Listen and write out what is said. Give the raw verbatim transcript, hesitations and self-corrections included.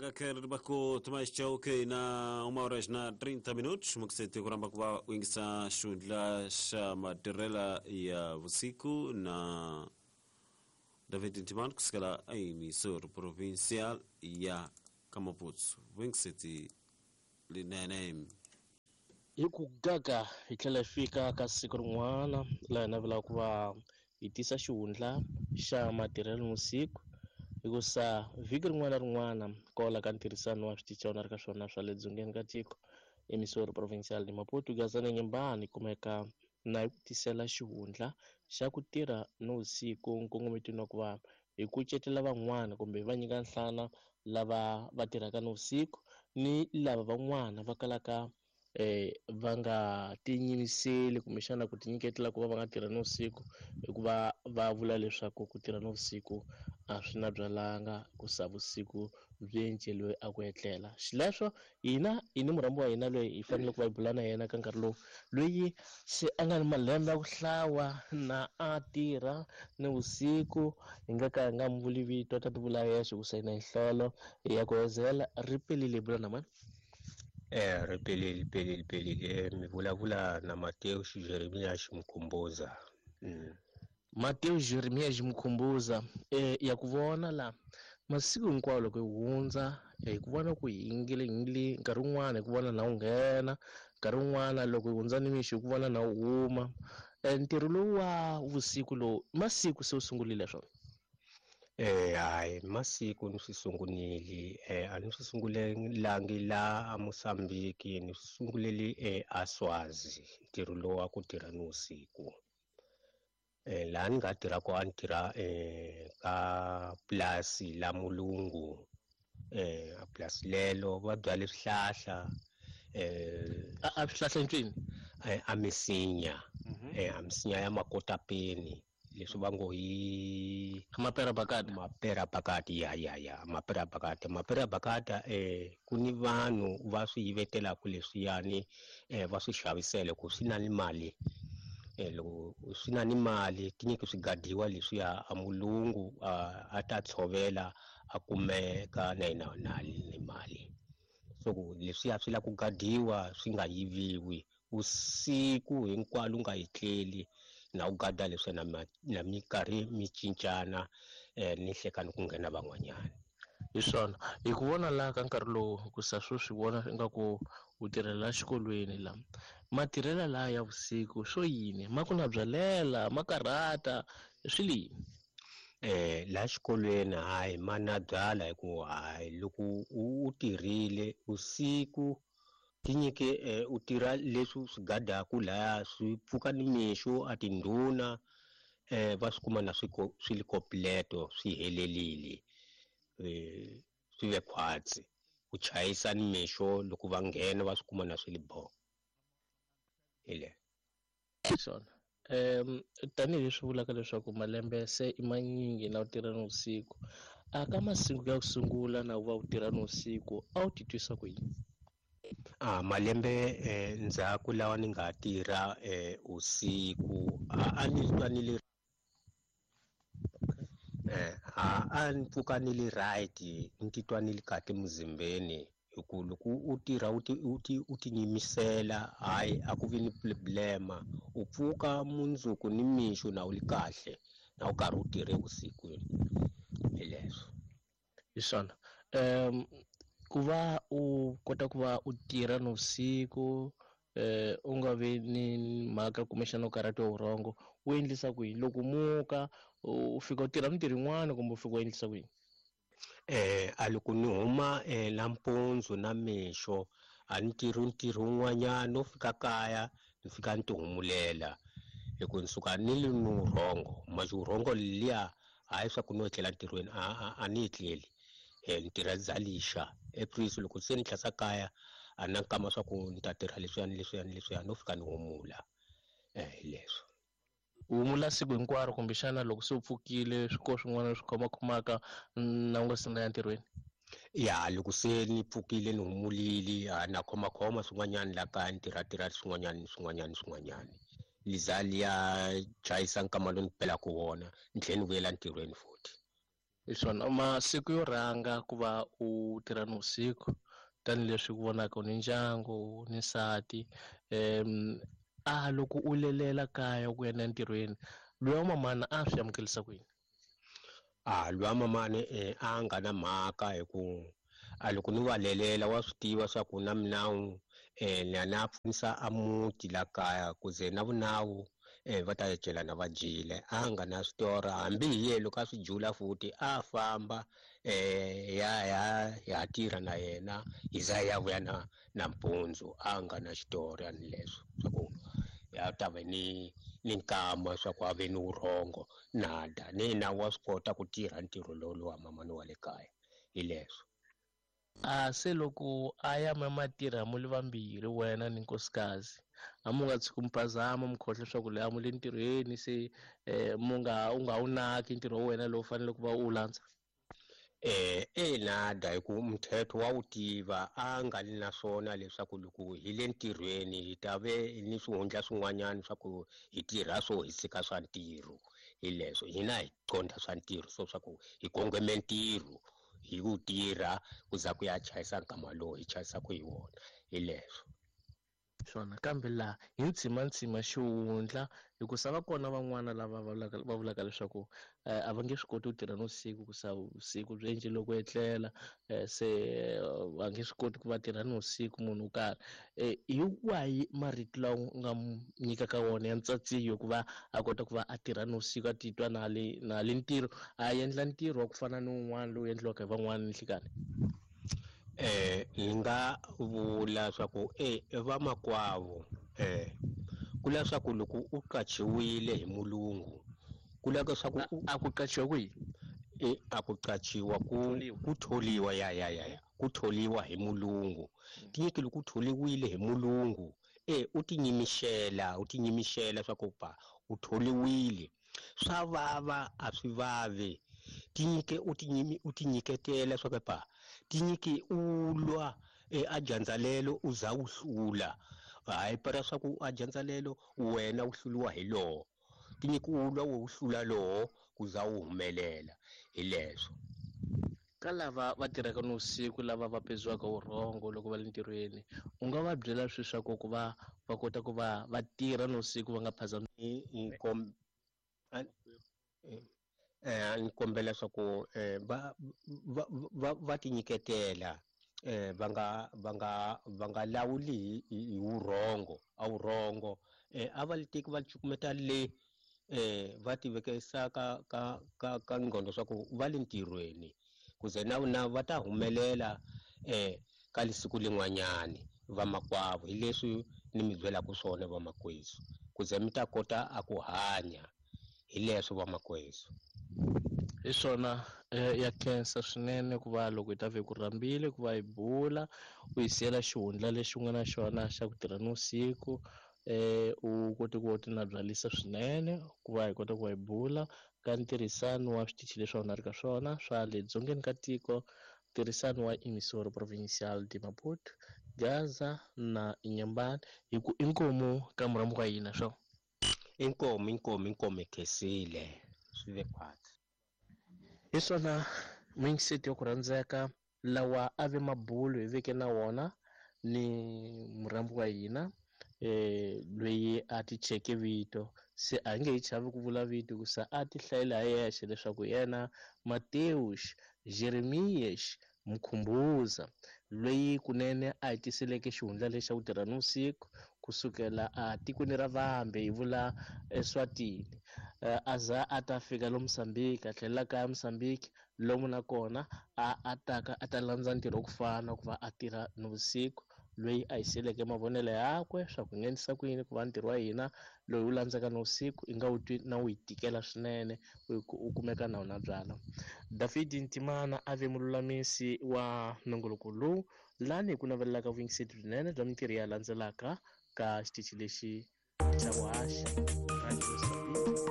Gaka Tomás Chauque na uma hora na trinta minutos mukisete kuramba kuva uingisa xundla xa matirela ya vusiku na David Ntiman kusukela emisor provincial ya Kamaputs wingiseti linene hi ku gaga hi tlhela hi fika ka siku rin'wana laha hi navelaka ku va hi tisa xihundla xa matirhelo nivusiku hikusa vhiki rin'wana na rin'wana kwala ka ntirhisano wa switichi na ri ka swona swa le dzongeni ka tiko emisori provincial ni Maputo Gazana Nyembani kumeka na hi ku tisela xihundla xa ku tirha nivusiku nkongometweni wa ku va hi kucetela van'wana kumbe va nyika nhlana lava va tirhaka nivusiku ni lava van'wana va kalaka eh va nga tinyimiseli kumbexana ku tinyiketela ku va va nga tirha nivusiku hikuva va vula leswaku ku tirha nivusiku a swi na byalanga ku sa vusiku byi enceliwe a ku etlela. Xileswo hina hi ni murhambi wa hina loyi hi fanele ku va hi bula na yena ka nkarhi lowu loyi se a nga ni malembe ya ku hlawa na a tirha nivusiku hi nga ka hi nga mi vuli vito ta ti vula yexe ku sayina hi nhlolo ya ku hezela ri pelile hi bula na mani. Eh ripelile pelile pelile mi vulavula na Mateo Jeremia Ximkhumbuza. Mm. Mateo Jeremia Ximkhumbuza eh ya ku vona la masiku hinkwawo loko hi hundza hi ku vona ku yingile yingile nkarhi wun'wana hi ku vona na wu nghena nkarhi wun'wana loko hi hundza nimixo hi ku vona na wu huma. Ntirho lowu wa vusiku lowu masiku se wu sungurile swona? Eh hayi masiku ni swi sungunile eh a ni swi sungulelangi la a Mozambique ni swi sungulele eh a Swazi ntirho lowu wa ku tirha nivusiku. Eh laha ni nga tirha ko a ni tirha eh ka pulasi la mulungu eh a pulasi lelo va byale swihlahla eh a swihlahla ncini eh a misinya eh a misinya ya makotapeni leswi va ngo hi mapera bakata mapera bakata ya ya ya mapera bakata mapera bakata eh ku ni vanhu va swi yivetelaka leswiyani eh va swi xavisele ku swi na ni mali eh loko swi na ni mali tinyiki swi gadiwa leswiya a mulungu a ta tshovela a kumeka na yena na ni mali so ku leswiya swi la ku gadiwa swi nga yiviwi usiku hinkwalo nga yitleli na u gada leswi na na minkarhi mi cincana eh ni hlekani ku nghena van'wanyana. Hi swona hi ku vona laha ka nkarhi lowu ku sa swo swi vona ingaku u tirhela xikolweni la matirhela laha ya vusiku swo yini ma ku na byalela ma karhata swi li yini? Eh la xikolweni hayi ma na byala hi ku hayi loko u tirhile usiku tinyike u tirha leswi swi gadaku laya swi pfuka nimixo a tindhuna eh va swi kuma na swi swi li completo swi helelile eh swi ve khwatsi ku chayisa nimixo loko va nghena va swi kuma na swi li bo ile swona. Um tanihileswi vulaka leswaku malembe se i manyingi na u tirha nivusiku a ka masiku ya ku sungula na u va u tirha nivusiku a wu titwisa ku yini? Ah malembe eh, ndzhaku lawa ni nga tirha eh, usiku a ni twa ni le eh a a ni pfuka ni le right ni titwa ni le kahle muzimbeni hi ku loko u tirha u ti u ti u tinyimisela hayi a ku vi ni problema u pfuka mundzuku ni mixo na u li kahle na u karhi u tirhe vusiku hi leswo. Hi swona um ku va u kota ku va u tirha nivusiku eh u nga vi ni mhaka kumbexana u karhatiwa vurhongo u endlisa ku yini loko muka u fika u tirha mintirho yin'wana kumbe u fika u endlisa ku yini? Eh a loko ni huma eh nampundzu na mixo a ni tirhi ntirho wun'wanyana no fika kaya ni fika ni tihumulela hi ku ni suka ni li ni vurhongo manje vurhongo liya hayi swa ku no etlela ntirhweni a a ni etleli eh ni tirha dzalixa eprisi loko se ni tlhasa kaya a na nkama swa ku ni ta tirha leswiya ni leswiya ni leswiya no fika ni humula eh hi leswo. U humula siku hinkwaro kumbexana loko se u pfukile swi ko swin'wana swi khomakhomaka na u nga se na ya ntirhweni? Ya loko se ni pfukile ni humulile a na khomakhoma swin'wanyana la kaya ni tirha tirha swin'wanyana ni swin'wanyana swin'wanyana liza liya chayisa nkama lowu ni pelaka wona ni tlhela ni vuyela ntirhweni futhi. Hi swona masiku yo rhanga ku va u tirha nivusiku tanihileswi ku vonaka u ni ndyangu ni nsati um a loko u lelela kaya ku ya entirhweni loyi wa mamana a swi amukelisa ku yini? A loyi wa mamani eh, a nga na mhaka hi ku a loko ni va lelela wa swi tiva swa ku na minawu eh, na na pfunisa a muti la kaya ku ze na vunawu eh, va ta celana va dyile. A nga na switora hambi hi ye loko a swi jula futhi a famba eh, ya ya ya tirha na yena hi za ya vuya na nampundzu. A nga na xitori ni leswo swa ku ya ta ve ni ni nkama swa ku a ve ni vurhongo nada ni na wa swi kota ku tirha ntirho lowu lowa mamani wa le kaya hi leswo. A se loko a ya ma matirha mu le vambirhi wena ni nkosikazi a mu nga tshuki muphazama mu khohlwa leswaku loyi a mu le ntirhweni se eh, mu nga u nga wu naki ntirho wa wena lowu fanele ku va u landza? Eh ina da hi ku mthetho wa wu tiva a nga li na swona leswaku loko hi le ntirhweni hi ta ve ni swihundla swin'wanyana swa ku hi tirha swo hi tshika swa ntirho. Hi leswo hina hi qondha swa ntirho so swa ku hi kongome ntirho hi ku tirha ku za ku ya chayisa nkama lowu hi chayisaka hi wona hi leswo. Swona kambe laha hi ntshimantsima xihundla hikusa va kona van'wana lava va vulaka, va vulaka leswaku a va nge swi koti ku tirha nivusiku ku sa vusiku byi endle loko etlela se va nge swi koti ku va tirha nivusiku munhu wo karhi. Hi wahi marito lawa u nga mu nyikaka wona ya ntsatsiyo ku va a kota ku va a tirha nivusiku a titwa na le na le ntirho a endla ntirho wa ku fana ni wun'wana lowu endliwaka hi van'wana ninhlikani? Eh ni nga vula swa ku eh vamakwavo eh ku la swa ku loko u qachiwile hi mulungu ku la swa ku a ku qachiwa kwihi? Eh a ku qachiwa ku ku tholiwa ya ya ya ku tholiwa hi mulungu tinyiki loko u tholiwile hi mulungu eh u tinyimixela u tinyimixela swa ku pa u tholiwile swa vava a swi vavi tinyike u tinyimi u tinyiketela swa ku pa tinyike u lwa eh, a dyandza u za u hlula hayi para swa ku a dyandza wena u hluliwa hi lowo tinyike u lwa u hlula lowo ku za u humelela hi leswo. Ka lava va tirhaka nivusiku lava va peziwaka vurhongo loko va le ntirhweni u nga va byela swi swa ku ku va va kota ku va va tirha nivusiku va nga phazami? Eh ni kombela swa ku eh, va va va va tinyiketela eh va nga va nga va nga lawuli hi vurhongo a vurhongo eh a va li teki va cukumeta le eh va tivekisa ka ka ka ka ngqondo swa ku va le ntirhweni ku ze na na va ta humelela eh ka lisiku lin'wanyani vamakwavo hi leswi ni mi byelaka swona vamakwesu ku ze mi ta kota a ku hanya hi leswo vamakwesu. Hi swona ya khensa swinene ku va loko hi ta ve ku rhambile ku va hi bula u hi siyela xihundla lexi u nga na xona xa ku tirha nivusiku eh u kote ku ti nabyalisa swinene ku va hi kota ku va hi bula ka ntirhisano wa switichi leswi a wu na ri ka swona swa le dzongeni ka tiko, ntirhisano wa Emissora Provincial de Maputo, Gaza na Inhambane hi ku inkomu ka murhambi wa hina swo. Inkomu inkomu inkomu khensile swi ve khwatsi. Hi swona mindset ya ku rhandzeka lawa a ve mabulo hi veke na wona ni murhambi wa hina eh loyi a ti cheke vito se a nge hi chavi ku vula vito ku sa a ti hlayela hi yexe leswaku yena Mateus Jeremias Mkhumbuza loyi kunene a hi tiseleke xihundla lexi xa ku tirha nivusiku kusukela a tikweni ra Vambe hi vula Eswatini a za a ta fika lo Mozambique a tlhelela kaya Mozambique lomu nakona a a taka a ta landza ntirho ku fana ku va a tirha nivusiku loyi a hi siyeleke mavonelo yakwe swa ku nghenisa ku yini ku va ntirho wa hina loyi wu landzaka nivusiku i nga wu twi na wu yi tikela swinene u kumeka na wona byala. David Ntimana a ve mululamisi wa nongoloko lowu lani hi ku navelelaka vuyingiseri byinene bya mintirho ya landzelaka ka xitichi lexi xa vuhaxi Radio Mozambique.